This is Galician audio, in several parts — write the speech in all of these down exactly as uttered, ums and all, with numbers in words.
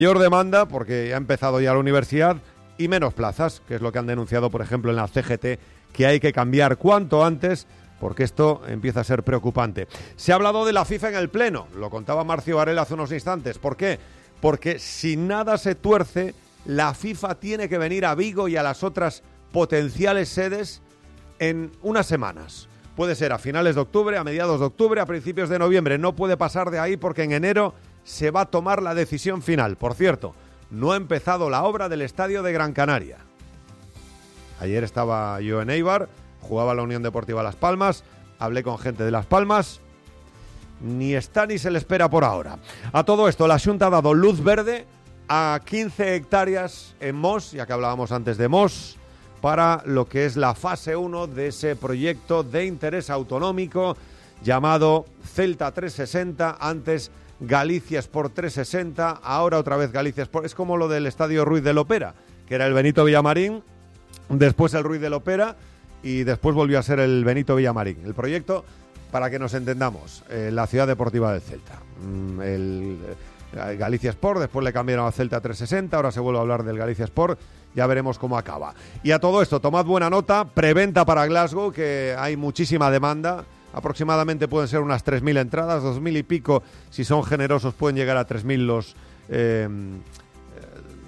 Mayor demanda porque ha empezado ya la universidad y menos plazas, que es lo que han denunciado, por ejemplo, en la C G T, que hay que cambiar cuanto antes porque esto empieza a ser preocupante. Se ha hablado de la FIFA en el Pleno, lo contaba Marcio Varela hace unos instantes. ¿Por qué? Porque si nada se tuerce, la FIFA tiene que venir a Vigo y a las otras potenciales sedes en unas semanas. Puede ser a finales de octubre, a mediados de octubre, a principios de noviembre. No puede pasar de ahí porque en enero se va a tomar la decisión final. Por cierto, no ha empezado la obra del estadio de Gran Canaria. Ayer estaba yo en Eibar, jugaba la Unión Deportiva Las Palmas, hablé con gente de Las Palmas, ni está ni se le espera por ahora. A todo esto, la Xunta ha dado luz verde a quince hectáreas en Mos, ya que hablábamos antes de Mos, para lo que es la fase uno de ese proyecto de interés autonómico llamado Celta trescientos sesenta, antes Galicia Sport trescientos sesenta, ahora otra vez Galicia Sport. Es como lo del Estadio Ruiz de Lopera, que era el Benito Villamarín, después el Ruiz de Lopera y después volvió a ser el Benito Villamarín. El proyecto, para que nos entendamos, eh, la ciudad deportiva del Celta. Mm, el, el Galicia Sport, después le cambiaron a Celta trescientos sesenta, ahora se vuelve a hablar del Galicia Sport, ya veremos cómo acaba. Y a todo esto, tomad buena nota, preventa para Glasgow, que hay muchísima demanda. Aproximadamente pueden ser unas tres mil entradas, dos mil y pico, si son generosos pueden llegar a tres mil los eh,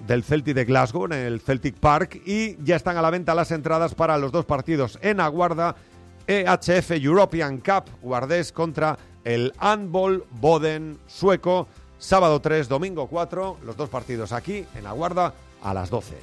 del Celtic de Glasgow, en el Celtic Park, y ya están a la venta las entradas para los dos partidos en Aguarda, E H F European Cup, Guardés contra el Handball Boden sueco, sábado tres, domingo cuatro, los dos partidos aquí en Aguarda a las doce.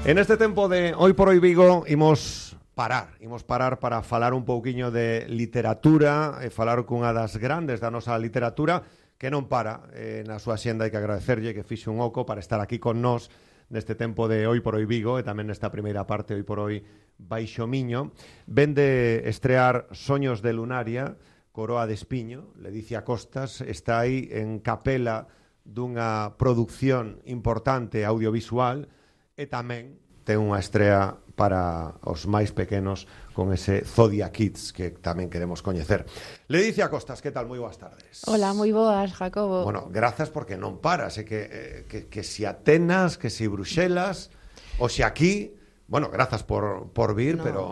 En este tempo de Hoy por Hoy Vigo imos parar, imos parar para falar un pouquiño de literatura e falar cunha das grandes da nosa literatura que non para eh, na súa xenda. Hai que agradecerlle que fixe un oco para estar aquí con nós neste tempo de Hoy por Hoy Vigo e tamén nesta primeira parte Hoy por Hoy Baixo Miño. Ven de estrear Soños de Lunaria, Coroa de Espiño. Ledicia Costas está aí en capela dunha produción importante audiovisual e tamén ten unha estrea para os máis pequenos con ese Zodia Kids que tamén queremos coñecer. Ledicia Costas, que tal? Moi boas tardes. Hola, moi boas, Jacobo. Bueno, grazas porque non paras, eh, que, eh, que, que si Atenas, que si Bruxelas, o si aquí, bueno, grazas por, por vir, no. pero...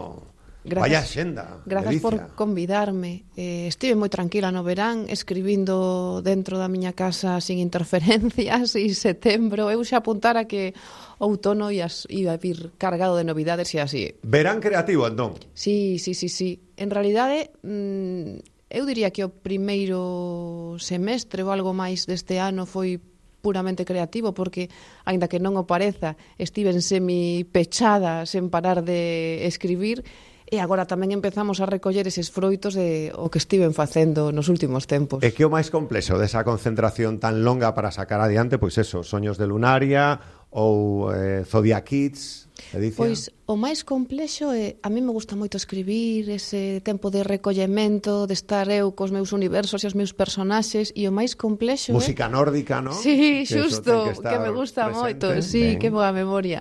Gracias, vaya xenda. Grazas Ledicia. por convidarme. Eh, estive moi tranquila no verán, escribindo dentro da miña casa sin interferencias, e setembro eu xa apuntara que outono ia, ia vir cargado de novidades e así. Verán creativo, entón? Sí, sí, sí, sí. En realidade, mmm, eu diría que o primeiro semestre ou algo máis deste ano foi puramente creativo, porque, aínda que non o pareza, estiven semi pechada sen parar de escribir. E agora tamén empezamos a recoller eses froitos de o que estiven facendo nos últimos tempos. E que o máis complexo desa concentración tan longa para sacar adiante, pois eso, Soños de Lunaria ou eh, Zodia Kids, Edicia? Pois o máis complexo é, a mí me gusta moito escribir, ese tempo de recollemento, de estar eu cos meus universos e os meus personaxes, e o máis complexo música é... nórdica, ¿no? Sí, que xusto, que, que me gusta moito, sí, ben. Que boa memoria.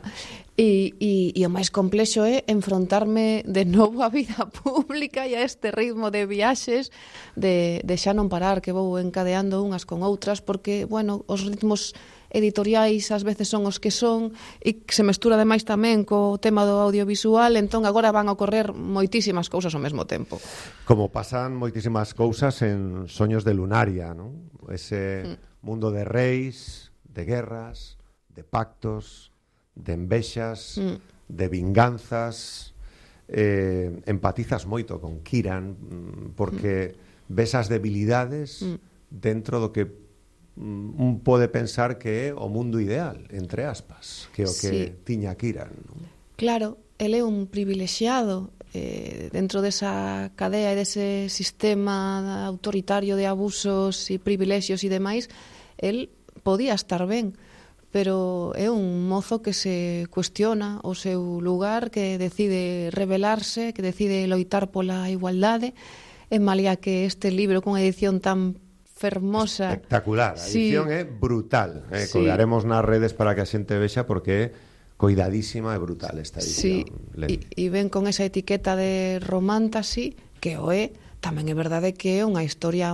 E, e, e o máis complexo é enfrontarme de novo á vida pública e a este ritmo de viaxes de, de xa non parar, que vou encadeando unhas con outras, porque, bueno, os ritmos editoriais ás veces son os que son e se mestura ademais tamén co tema do audiovisual, entón agora van a ocorrer moitísimas cousas ao mesmo tempo. Como pasan moitísimas cousas en Soños de Lunaria, ¿no? Ese mm. mundo de reis, de guerras, de pactos, de envexas, mm. de vinganzas. Eh, empatizas moito con Kiran porque mm. ves as debilidades mm. dentro do que un pode pensar que é o mundo ideal, entre aspas, que é o que sí. tiña Kiran, non? Claro, ele é un privilexiado eh, dentro desa cadea e dese sistema autoritario de abusos e privilexios e demais. El podía estar ben, pero é un mozo que se cuestiona o seu lugar, que decide rebelarse, que decide loitar pola igualdade, e malia que este libro con edición tan fermosa. Espectacular, a edición sí. é brutal. Eh, sí. Colgaremos nas redes para que a xente vexa porque é coidadísima e brutal esta edición. Sí, e, e ven con esa etiqueta de romantasy, que o é, tamén é verdade que é unha historia